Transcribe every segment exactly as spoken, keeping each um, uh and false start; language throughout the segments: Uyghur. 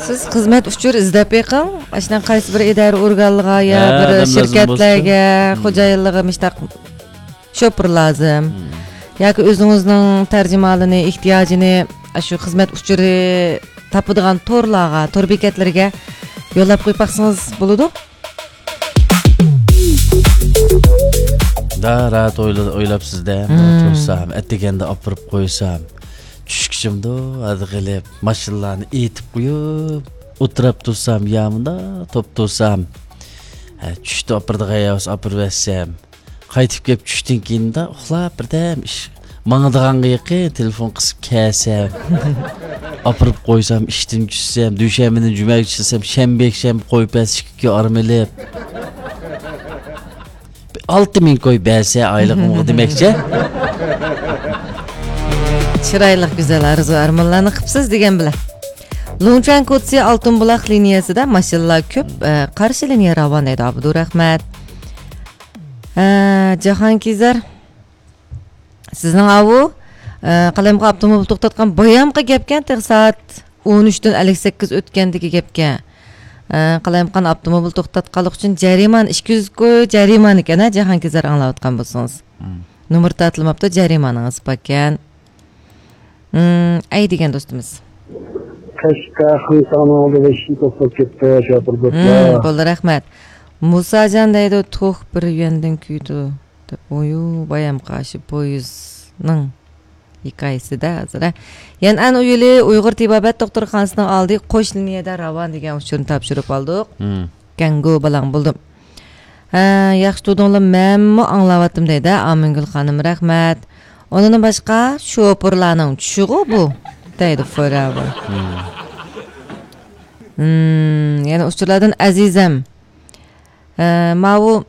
سىز خىزمەت ئۇچۇرى ئىزدەپ بېقىڭ. ئاشۇنداق قايسى بىر ئىدارە ئورگانلىرىغا يا ھە، بىر ئادەم لازىم شىركەتلەرگە، بولسا. خوجايىنلىرىغا مۇشتاق شوپۇر لازىم. مم. ياكى ئۆزىڭىزنىڭ تەرجىمىھالىنى، ئېھتىياجىنى ئاشۇ خىزمەت ئۇچۇرى تاپىدىغان تورلارغا، تور بېكەتلىرىگە يوللاپ قويۇپ باقسىڭىز بولىدۇ. دا راھەت ئويلا-، ئويلاپسىز-دە. مم. تۇرسام، ئەتىگەندە ئاپىرىپ قويسام، چۈشكىچىمدۇ ھەدە قىلىپ، ماشىنىلارنى ئېيتىپ قويۇپ، ئولتۇراپ تۇرسام، يا مۇندا توپ تۇرسام، ھە، چۈشتە ئاپىرىدىغان يا بولسا ئاپىرىۋەتسەم، قايتىپ كېلىپ چۈشتىن كېيىن مۇندا ئۇخلاپ، بىردەم ئىش ماڭىدىغانغا يېقىن تېلېفون قىسىپ كەلسەم، ئاپىرىپ قويسام، ئىشتىن چۈشسەم، دۈشەنبىدىن جۈمەگىچە ئىشلىسەم، شەنبە، يەكشەنبە قويۇپ بەرسە، ئىككى كۈن ئارام ئېلىپ، ئالتە مىڭ كوي بەرسە ئايلىقىمغا دېمەكچى. چىرايلىق، گۈزەل ئارزۇ ئارمانلارنى قىپسىز دېگەن بىلەن. لۇڭچۈەن كوچىسى ئالتۇن بۇلاق لىنىيەسىدە ماشىنىلار كۆپ، ئە، قارشى لىنىيە راۋان دەيدۇ، ئابدۇرەھمەت. ئە، جاھانكېزەر، سىزنىڭ ئاۋۇ، ئە، قالايمىقان ئاپتوموبىل توختاتقان بايامقى گەپكەن، تېخى سائەت ئون ئۈچتىن ئەللىك سەككىز ئۆتكەندىكى گەپكەن. ئە، قالايمىقان ئاپتوموبىل توختاتقانلىق ئۈچۈن جەرىمانە، ئىككى يۈز كوي جەرىمانە ئىكەن، ھە، جاھانكېزەر ئاڭلاۋاتقان بولسىڭىز. مم. نومۇر تارتىلماپتۇ، جەرىمانىڭىز باركەن. مم، ئەي دېگەن دوستىمىز. قەشقەر خىڭخاڭنىڭ ئالدىدا ئىشىكى توختاپ كەتتى، شوپۇر دوستلار. مم، بولدى، رەھمەت. مۇساجان دەيدۇ، توك بىر يەندىن كۆيىدۇ، دەپ. ئويۇ، بايام قارشى پويىزنىڭ ھېكايىسىدە ھازىر، ھە. يەنئەن ئۇيىلى ئۇيغۇر تېبابەت دوختۇرخانىسىنىڭ ئالدى قوش لىنىيەدە راۋان دېگەن ئۇچۇرنى تاپشۇرۇپ ئالدۇق. مم. كەڭگۇ بالاڭ بولدۇم. ھە، ياخشى تۇردۇڭلار، مەنمۇ ئاڭلاۋاتتىم دەيدۇ ئامىنگۈل خانىم، رەھمەت. ئۇنىڭدىن باشقا شوپۇرلارنىڭ چۈشىغۇ بۇ دەيدۇ فورەۋەر. مم. مم، يەنە ئۇچۇرلاردىن ئەزىزەم. ھە، ماۋۇ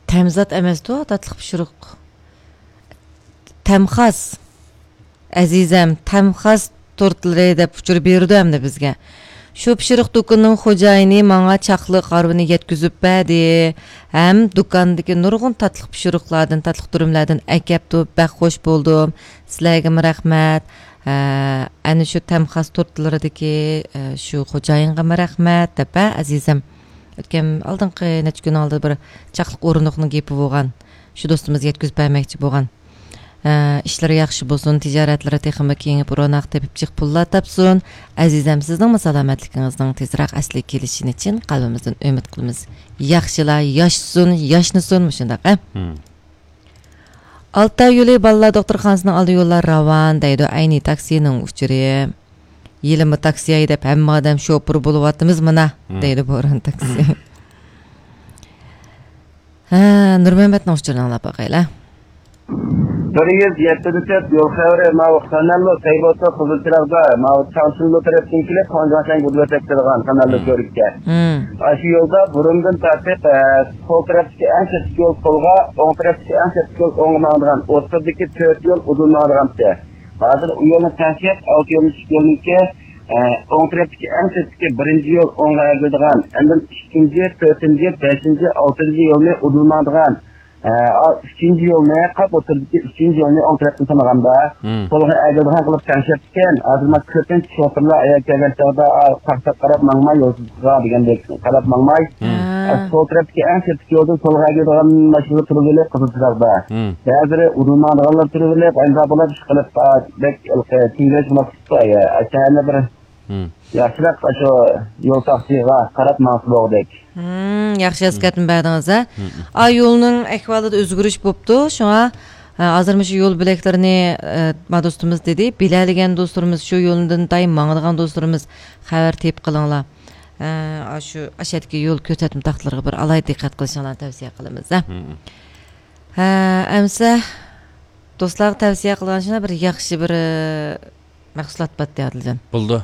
تەمزات ئەمەستۇ، تاتلىق پىشۇرۇق. تەمخاس. ئەزىزەم، تەمخاس تورتلىرى دەپ ئۇچۇر بېرىدۇ ئەمدى بىزگە. شۇ پىشۇرۇق دۇكىنىنىڭ خوجايىنى ماڭا چاقلىق ھارۋىنى يەتكۈزۈپ بەردى. ھەم دۇكاندىكى نۇرغۇن تاتلىق پىشۇرۇقلاردىن، تاتلىق دۈرۈملەردىن ئەكەپتۇ. بەك خوش بولدۇم. سىلەرگىمۇ رەھمەت. ھە، ئەنە شۇ تەمخاس تورتلىرىدىكى، ئە، شۇ خوجايىنغىمۇ رەھمەت دەپ، ھە، ئەزىزەم. ئۆتكەن ئالدىنقى نەچچە كۈن ئالدىدا بىر چاقلىق ئورۇندۇقنىڭ گېپى بولغان. شۇ دوستىمىز يەتكۈزۈپ بەرمەكچى بولغان. ئە، ئىشلىرى ياخشى بولسۇن، تىجارەتلىرى تېخىمۇ كېڭىيىپ، روناق تېپىپ، جىق پۇللار تاپسۇن. ئەزىزەم، سىزنىڭمۇ سالامەتلىكىڭىزنىڭ تېزراق ئەسلىگە كېلىشىنى چىن قەلبىمىزدىن ئۈمىد قىلىمىز. ياخشىلار ياشىسۇن، ياشنىسۇن مۇشۇنداق، ھە؟ مم. ئالتاي يولى بالىلار دوختۇرخانىسىنىڭ ئالدى يوللار راۋان دەيدۇ، ئەينى تاكسىنىڭ ئۇچۇرى. يېلىما تاكسى ھەيدەپ، ھەممە ئادەم شوپۇر بولۇۋاتىمىز مانا، مم. دەيدۇ بوران تاكسى. ھە، نۇرمەمەتنىڭ ئۇچۇرىنى ئاڭلاپ باقايلى. بىر يۈز يەتتە تۆت يول خەۋىرى، ماۋۇ خەنەللۇ سەيبوتو قىزىل چىراغدا، ماۋۇ چاڭشىنلۇ تەرەپتىن كېلىپ، خاڭجۇەنشەن گۇدۇۋېتەك كېلىدىغان خەنەللۇ مم. كۆۋرۈككە. مم. ئاشۇ يولدا بۇرۇندىن تارتىپ، ئە، سول تەرەپتىكى ئەڭ چەتتىكى يول سولغا، ئوڭ تەرەپتىكى ئەڭ چەتتىكى يول ئوڭغا ماڭىدىغان ئوتتۇرىدىكى تۆت يول ئۇدۇل ماڭىدىغانتى. ھازىر ئۇ يولنى تەڭشەپ، ئالتە يولنى، ئىككى يولنىڭكى، ئە، ئوڭ تەرەپتىكى ئەڭ چەتتىكى بىرىنچى يول ئوڭغا ئەگىلىدىغان، ئاندىن ئىككىنچى، تۆتىنچى، بەشىنچى، ئالتىنچى يولنى ئۇدۇل ماڭىدىغان، ئە، ئا، ئۈچىنچى يولنى، قاپ ئوتتۇرىدىكى ئۈچىنچى يولنى ئوڭ تەرەپتىن سانىغاندا، مم. سولغا ئەگىلىدىغان قىلىپ تەڭشەپتىكەن. ھازىر مانا كۆپىنچە شوپۇرلار ئەگەر كەلگەن چاغدا، ئا، تاققا قاراپ ماڭماي، يولسىزغا دېگەندەك قاراپ ماڭماي، مم. ھە. ئە، سول تەرەپتىكى ئەڭ چەتتىكى يولدىن سولغا ئەگىلىدىغان ماشىنىلار تۇرۇۋېلىپ، قىزىل چىراغدا. مم. بەزىلىرى ئۇدۇل ماڭىدىغانلار تۇرۇۋېلىپ، ئەمدى بۇلار ئىشقىلىپ، ئا، بەك تىڭگىرەك بولۇپ، ئا، شەھەرنى بىر مم. ياخشىراق ئاشۇ يول تاختىغا قاراپ ماڭسا بولغۇدەك. مم، ياخشى ئەسكەرتمە بەردىڭىز، ھە؟ مم. ئا، يولنىڭ ئەھۋالىدا ئۆزگىرىش بوپتۇ، شۇڭا، ھە، ھازىر مۇشۇ يول بۆلەكلىرىنى، ئە، ما دوستىمىز دېدى، بىلەلىگەن دوستلىرىمىز، شۇ يولدىن دائىم ماڭىدىغان دوستلىرىمىز خەۋەر تېپىپ قېلىڭلار. ئە، ئاشۇ ئاشەدىكى يول كۆرسەتمە تاختىلىرىغا بىر ئالاھىدە دىققەت قىلىشىڭلارنى تەۋسىيە قىلىمىز، ھە؟ مم. ھە، ئەمسە دوستلارغا تەۋسىيە قىلغان شۇنداق بىر ياخشى بىر، ئە، مەھسۇلات باتتى ئادىلجان. بولدى.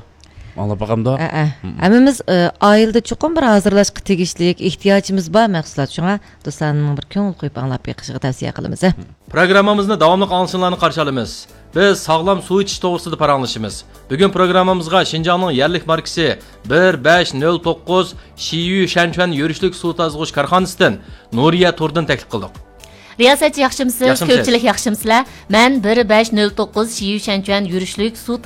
ئاڭلاپ باقامدۇ؟ ئەئە. مم. ھەممىمىز، ئە، ئائىلىدە چوقۇم بىر ھازىرلاشقا تېگىشلىك، ئېھتىياجىمىز بار مەھسۇلات. شۇڭا دوستلارنىڭ بىر كۆڭۈل قويۇپ ئاڭلاپ بېقىشىغا تەۋسىيە قىلىمىز، ھە. مم. پروگراممىمىزنى داۋاملىق ئاڭلىشىڭلارنى قارشى ئالىمىز. بىز ساغلام سۇ ئىچىش توغرىسىدا پاراڭلىشىمىز. بۈگۈن پروگراممىمىزغا شىنجاڭنىڭ يەرلىك ماركىسى بىر بەش نۆل توققۇز شىيۈ شەنچۈەن يۈرۈشلۈك سۇ تازىغۇچ كارخانىسىدىن نۇرىيە تۇردىن تەكلىپ قىلدۇق. رىياسەتچى ياخشىمۇسىز؟ ياخشىمۇسىز؟ كۆپچىلىك ياخشىمۇسىلەر؟ مەن بىر بەش نۆل توققۇز شىيۈ شەنچۈەن يۈرۈشلۈك سۇ